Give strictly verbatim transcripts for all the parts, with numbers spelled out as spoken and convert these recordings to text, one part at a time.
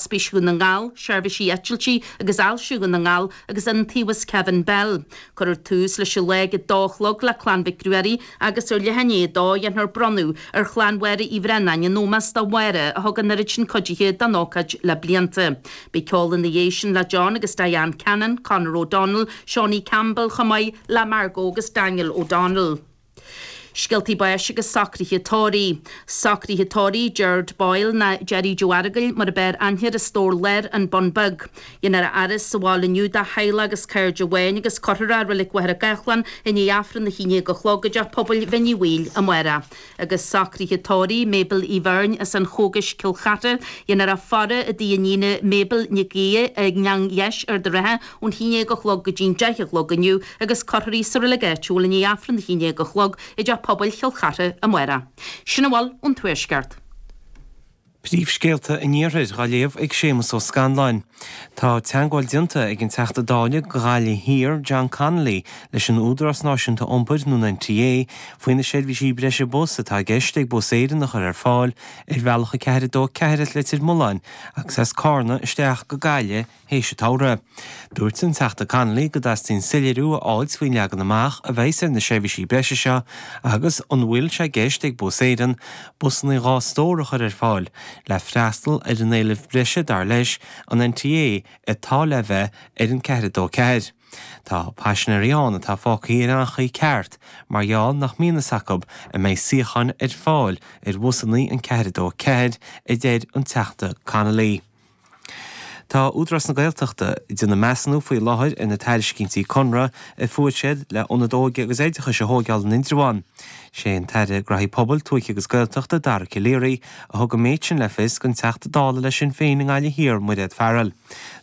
Ospís Dhún na nGall, Seirbhísí Eitiltí agus Ailse Dhún na nGall agus Iontaobhas Kevin Bell. Cuirfear tús leis an lá ag a dó a chlog le Clann Mhic Ruairí agus ar leath i ndiaidh a dó dhéanfar bronnadh ar chlann Mháire Uí Bhraonáin in ómós do Mháire a thug an oiread sin cuidithe don ócáid le blianta. Beidh ceol ina dhiaidh sin le John agus Diane Cannon, Conor O'Donnell, Seánie Campbell chomh maith le Margot agus Daniel O'Donnell. Scéaltaí báis agus socruithe tórraimh. Socruithe tórraimh Gerard Boyle nó Jerry Joe Aragail mar ab fhearr aithne air as Stór Láir, An Bun Beag. Dhéanfar a fhaire sa bhaile inniu dá theaghlach agus cairde amháin agus cuirfear é i Reilig Mhachaire Gathlán i ndiaidh Aifreann a haon déag a chlog i dTeach Pobail Bhinn Uí Bhaoill amárach. Agus socruithe tórraimh Mabel Uí Bheirn as an Chógais, Cill Chartha. Dhéanfar a faire i dtigh a iníne Mabel Nic Aoidh i nGleann Dheis, Ard an Rátha, ón haon déag a chlog go dtí'n deich a chlog inniu agus cuirfear í sa reilig áitiúil i ndiaidh Aifreann a haon déag a chlog i dTeach Pobail Chill Chartha amárach. Sin a bhfuil ón Tuaisceart. Príomhscéalta an Iarthair á léamh ag Séamus Ó Scanláin. Tá teagmháil déanta ag an Teachta Dála do Ghaillimh Thiar, John Connolly, leis an Údarás Náisiúnta Iompair nó an NTA faoi na seirbhísí breise bus atá i gceist ag Bus Éireann a chur ar fáil ar bhealach a ceathair a dó ceathair as Leitir Mealláin agus as Carna isteach go Gaillimh théis an tsamhraidh. Dúirt an Teachta Connolly go dteastaíonn soiléiriú a fháilt faoin leagan amach a bheas ar na seirbhísí breise seo agus an bhfuil sé i gceist ag Bus Éireann busanna dhá stór a chur ar fáil le freastal ar an éileamh breise dar leis an NTA atá le bheith ar an ceathair a dó ceathair. Tá paisinéirí ann atá fágtha ar an chaoi ceart mar gheall nach mbíonn fhios acu an mbeidh suíocháin ar fáil ar bhusanna an ceathair a dó ceathair, a deir an Teachta Connolly. Tá Údarás na Gaeltachta ag déanamh measúnú faoi láthair ar na tairiscintí conradh a fuair siad le ionad óige agus oideachais a thóigeáil in Indreabhán. Sé an tAire Graithí Pobail, Tuaithe agus Gaeltachta, Dara Calleary, a thug an méid sin le fios don Teachta Dála le Sinn Féin i nGaillimh Thiar, Mairéad Farrell.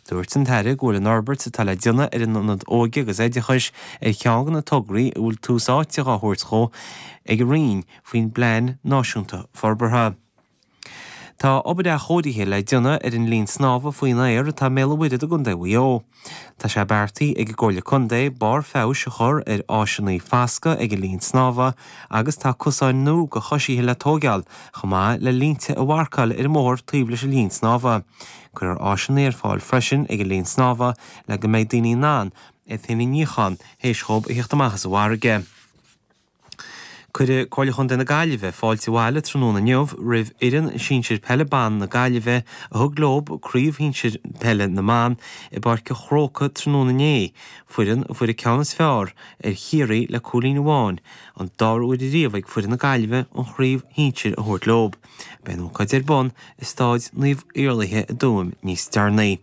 Dúirt an tAire go bhfuil an fhorbairt atá le déanamh ar an ionad óige agus oideachais ar cheann de na tograí a bhfuil tús áite á thabhairt dhó ag an Roinn faoin bPlean Náisiúnta Forbartha. Tá obair athchóirithe le déanamh ar an linn snámha faoin aer atá i mBéal an Mhuirthead i gContae Mhaigh Eo. Tá sé beartaithe ag an gComhairle Contae barr feabhais a chur ar áiseanna foscaidh ag an linn snámha agus tá cosáin nua do choisithe le tóigeáil, chomh maith le línte a mharcáil ar an mbóthar taobh leis an linn snámha. Cuirfear áiseanna ar fáil freisin ag an linn snámha le go mbeidh daoine in ann iad féin a níochán théis dhóibh a theacht amach as an bhfarraige. Cuirfidh Comhairle Chontae na Gaillimhe fáilte abhaile tráthnóna inniu roimh fhoireann sinsir peile ban na Gaillimhe a thug leo craobh shinsir peile na mban i bPáirc an Chrócaigh tráthnóna inné, foireann a fuair an ceann is fearr ar Chiarraí le cúilín amháin, an dara huair ariamh ag foireann na Gaillimhe an chraobh shinsir a thabhairt leo. Beidh an ócáid ar bun i Staid Naomh Iarlaithe i dTuaim níos deireanaí.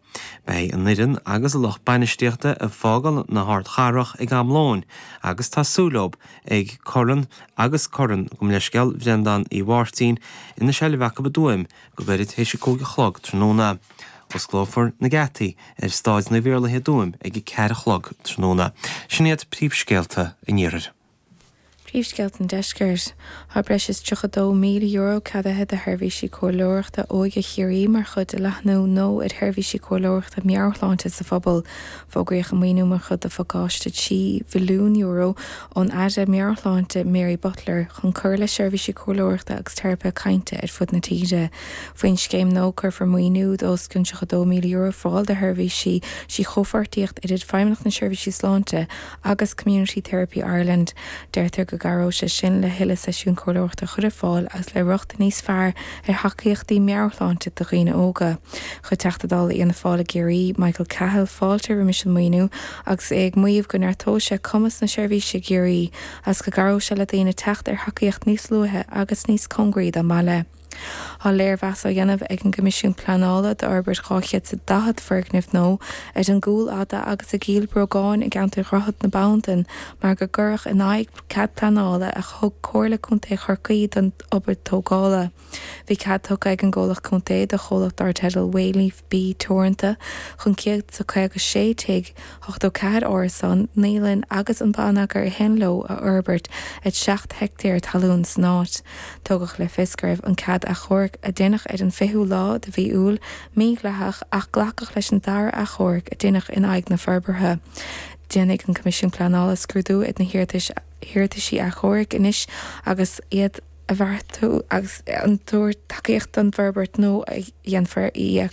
Beidh an fhoireann agus a lucht bainistíochta ag fágáil na hardchathrach ag am lóin agus tá súil leo ag Corn agus Corn gabh mo leithscéal Bhreandáin Uí Mháirtín ina seilbh acu i dTuaim go gairid théis a cúig a chlog tráthnóna. Osclófar na geataí ar Staid Naomh Iarlaithe i dTuaim ag a ceathair a chlog tráthnóna. Sin iad príomhscéalta an Iarthair. Príomhscéalta an Deiscirt. Tá breis is tríocha dó míle euro ceadaithe do sheirbhísí comhairleoireachta óige Chiarraí mar chuid de leathnú nó ar sheirbhísí comhairleoireachta meabhairshláinte sa phobal. Fógraíodh an maoiniú mar chuid de phacáiste trí mhilliún euro ón Aire Meabhairshláinte Mary Butler chun cur le seirbhísí comhairleoireachta agus teiripe cainte ar fud na tíre. Faoin scéim nua cuirfear maoiniú d'os cionn tríocha dó míle euro ar fáil do sheirbhísí trí chomhpháirtíocht idir Feidhmeannacht na Seirbhísí Sláinte agus Community Therapy Ireland. Deirtear go gcabhróidh sé sin le thuilleadh seisiún comhairleoireachta a chur ar fáil agus le rochtain níos fearr ar thacaíochtaí meabhairshláinte do dhaoine óga. Chuir Teachta Dála Fhianna Fáil i gCiarraí, Michael Cahill, fáilte roimis an maoiniú agus é ag maíomh go neartóidh sé cumas na seirbhíse i gCiarraí agus go gcabhróidh sé le daoine teacht ar thacaíocht níos luaithe agus níos cóngaraí dá mbaile. Tá léirmheas á dhéanamh ag an gCoimisiún Pleanála d'fhorbairt dhá chéad is daichead foirgneamh nua ar an gCúil Fhada agus i gCill Bhrógáin i gceantar Dhroichead na Bandan mar go gcuirfeadh in aghaidh cead pleanála a thug Comhairle Contae Chorcaí don obair tógála. Bhí cead tugtha ag an gcomhlacht contae do chomhlacht dar teideal Wayleaf B Teoranta chun céad is caoga sé tigh, ochtó ceathair árasán, naíolann agus an bonneagar a théann leo a fhorbairt ar seacht heicteár talún san áit. Tugadh le fios go raibh an cead achomhairc a deineadh ar an fichiú lá de mhí Iúil mídhleathach ach glacadh leis an dara achomharc a deineadh in aghaidh na forbartha. Déanfaidh an Coimisiún Pleanála scrúdú ar na hiarrataisí achomhairc anois agus iad a bheartú agus an tabhairt tacaíocht don bhforbairt nó a dhéanfar í a